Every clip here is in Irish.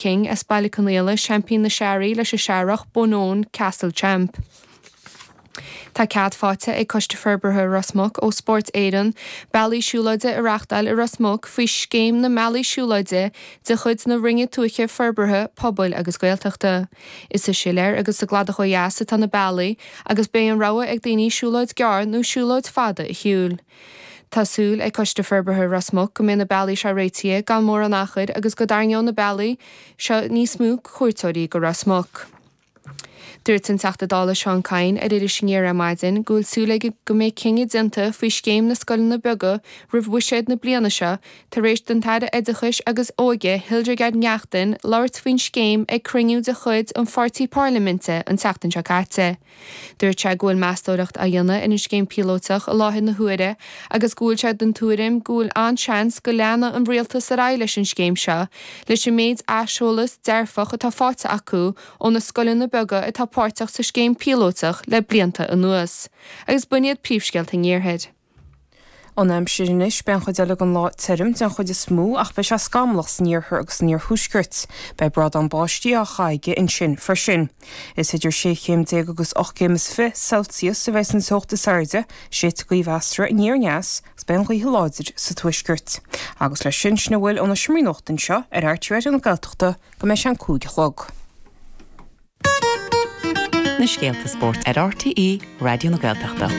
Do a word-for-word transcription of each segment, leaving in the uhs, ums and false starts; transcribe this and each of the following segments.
King as Baile Conaola seaimpín na searraí leis an searrach Bonone Castle Champ. Tá cead faighte ag Coiste Forbartha Ros Muc ó Spórt Éireann bealaí siúlóide a reáchtáil i Ros Muc faoi scéim na mbealaí siúlóide de chuid na Roinne Tuaithe Forbartha Pobail agus Gaeltachta. Is sa Siléar agus sa gCladach ó dheas atá na bealaí agus beidh an rogha ag daoine siúlóid gearr nó siúlóid fada a shiúl. Tá súil ag Coiste Forbartha Ros Muc go mbeidh na bealaí seo réitithe gan mórán achair agus go dtarraingeoidh na bealaí seo níos mó cuairteoirí go Ros Muc. Dúirt an Teachta Dála Seán Kyne ar Iris Aniar ar maidin go bhfuil súil aige go mbeidh cinneadh déanta faoi scéim na scoileanna beaga roimh bhuiséad na bliana seo tar éis don Aire Oideachais agus Óige Hildegarde Naughton labhairt faoin scéim ag cruinniú de chuid an pháirtí parlaiminte an tseachtain seo caite. Dúirt sé go bhfuil meastóireacht á dhéanamh ar an scéim píolótach i láthair na huaire agus go bhfuil sé den tuairim go bhfuil an-seans go leanfaidh an rialtas ar aghaidh leis an scéim seo leis an méid aiseolas dearfach atá faighte acu ó na scoileanna beaga atá páirteach sa scéim píolótach le blianta anuas. Agus b'in iad príomhscéalta an iarthair. An aimsir anois beidh an chuid eile den lá tirim den chuid is mó ach beidh sé scamallach san iarthar agus san iarthuaisceart. Beidh brádán báistí á chaitheamh ansin freisin. Is idir sé chéim déag agus ocht gcéim is fiche Celsius a bheidh an teocht is airde, séidfidh gaoth mheasartha aniar aneas agus beidh an ghaoth láidir sa tuaisceart. Agus leis sin sin a bhfuil ó na seomraí nuachta anseo ar R T É Raidió na Gaeltachta go mbeidh sé an cúig a chlog. Na scéalta spóirt ar R T É Raidió na Gaeltachta.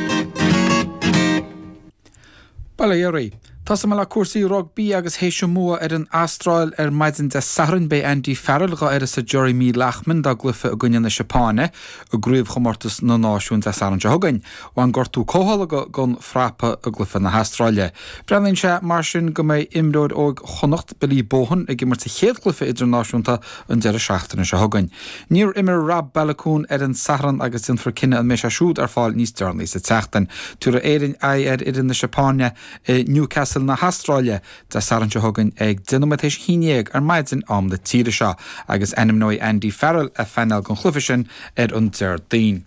Bail ó Dhia oraibh. Tosóidh mé le cúrsaí rugbaí agus théis an bhua ar an Astráil ar maidin Dé Sathairn beidh Andy Farrell dhá uireasa Jeremy Loughman dá gcluiche i gcoinne na Seapáine i gcraobhchomórtas na náisiún Dé Sathairn seo chugainn. Bhain gortú comhtholgtha den phrapa i gcluiche na hAstráile. Breathnaíonn sé mar sin go mbeidh imreoir óg Chonnacht Billy Bohan ag imirt a chéad chluiche idirnáisiúnta an deireadh seachtaine seo chugainn. Níor imir Rob Baloucoune ar an Satharn agus déanfar cinneadh an mbeidh sé siúd ar fáil níos deireanaí sa tseachtain. Tabharfaidh Éirinn aghaidh ar fhoireann na Seapáine i Newcastle na hAstráile Dé Sathairn seo chugainn ag deich nóiméad théis a haon déag ar maidin am na tíre seo, agus ainmneoidh Andy Farrell a phainéal don chluiche sin ar an Déardaoin.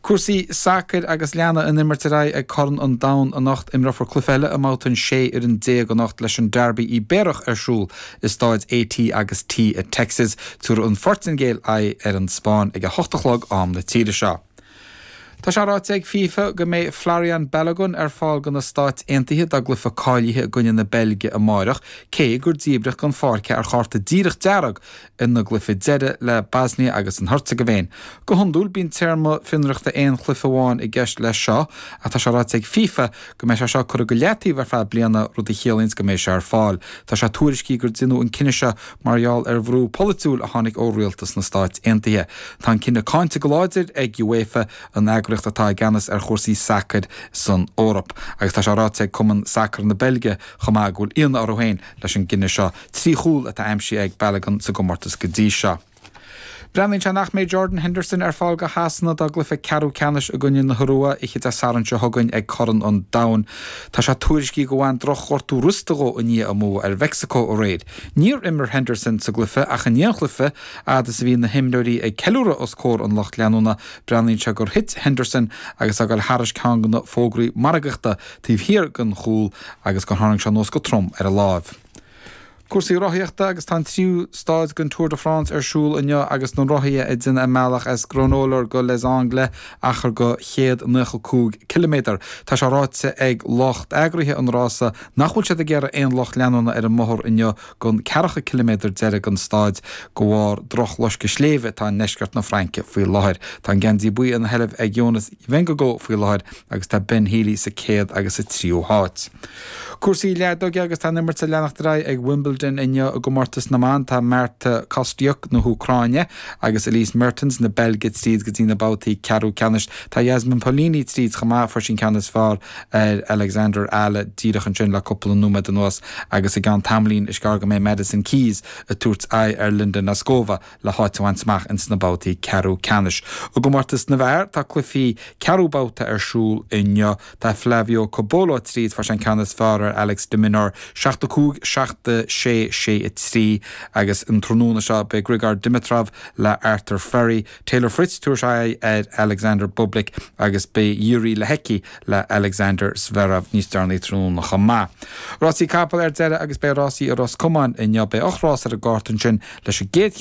Cúrsaí sacair agus leanfaidh an imirt ar aghaidh ag Corn an Domhain anocht imreofar cluiche eile i mbabhta an sé fhoireann déag anocht leis an Derby Ibéarach ar siúl i staid A T agus T i Texas tabharfaidh an Phortaingéil aghaidh ar an Spáinn ag a hocht a chlog am na tíre seo. Tá sé ráite ag FIFA go mbeidh Folarin Balogun ar fáil do na Stáit Aontaithe dá gcluiche cáilithe i gcoinne na Beilge amárach, cé gur díbríodh den pháirc ar chárta díreach dearg ina gcluiche deiridh le Bosnia agus an Heirseagaivéin. Go hiondúil bíonn téarma fionraíochta aon chluiche amháin i gceist leis seo ach tá sé ráite ag FIFA go mbeidh sé seo curtha go leataobh ar feadh bliana rud a chiallaíonn go mbeidh sé ar fáil. Tá sé tuairiscithe gur deineadh an cinneadh seo mar gheall ar bhrú polaitiúil a tháinig ó rialtas na Stáit Aontaithe. Tá an cinneadh cáinte go láidir ag UEFA an eagraíocht atá i gceannas ar chúrsaí sacair san Eoraip. Agus tá sé ráite ag Cumann Sacair na Beilge chomh maith go bhfuil ionadh orthu féin leis an gcinneadh seo trí chúl atá aimsithe ag Balogun sa gcomórtas go dtí seo. Breathnaíonn sé nach mbeidh Jordan Henderson ar fáil do Shasana dá gcluiche ceathrú ceannais i gcoinne na hIorua oíche Dé Sathairn seo chugainn ag Corn an Domhain. Tá sé tuairiscithe go bhain drochghortú rosta dhó i ndiaidh a mbua ar Mheicsiceo aréir. Níor imir Henderson sa gcluiche ach i ndiaidh an chluiche fhad is a bhí na himreoirí ag ceiliúradh os comhair an lucht leanúna, breathnaíonn sé gur thit Henderson agus é ag dul thairis ceann de na fógraí margaíochta taobh thiar den chúl agus gur tharraing sé anuas go trom ar a láimh. Cúrsaí rothaíochta agus tá an tríú stáid den Tour de France ar siúl inniu agus na rothaithe ag déanamh a mbealach as Granollers go Les Angles achar de chéad nócha cúig ciliméadar. Tá sé ráite ag lucht eagraithe an rása nach bhfuil siad ag iarraidh aon lucht leanúna ar an mbóthar inniu don ceathracha ciliméadar deiridh den stáid de bharr drochloscadh sléibhe atá i ndeisceart na Fraince faoi láthair. Tá an geansaí buí ina sheilbh ag Jonas Vingegaard faoi láthair agus tá Ben Healy sa céad agus sa tríú háit. Cúrsaí leadóige agus tá an imirt ag leanacht ar aghaidh ag Wimbledon inniu i gcomórtas na mban tá Marta Kostyuk na hÚcráine agus Elise Mertens na Beilge tríd go dtí na babhtaí ceathrú ceannais. Tá Jasmine Paolini tríd chomh maith fuair sí an ceann is fearr ar Alexandra Eala díreach ansin le cúpla nóiméad anuas agus i gceann tamaillín is gearr go mbeidh Madison Keys ag tabhairt aghaidh ar Linda Noskova le háit a bhaint amach ins na babhtaí ceathrú ceannais. I gcomórtas na bhfear tá cluichí ceathrú babhta ar siúl inniu tá Flavio Cobolli tríd fuair sé an ceann is fearr ar Alex de Minaur seacht a cúig seacht sé sé, sé a trí agus an tráthnóna seo beidh Grigor Dimitrov le Arthur Fery, Taylor Fritz tabharfaidh aghaidh ar Alexander Bublik agus beidh Jiří Lehecki le Alexander Zverev níos deireanaí tráthnóna chomh maith. Rásaí capall ar deireadh agus beidh rásaí i Ros Comáin inniu beidh ocht rás ar an gcárta ansin leis an gcéad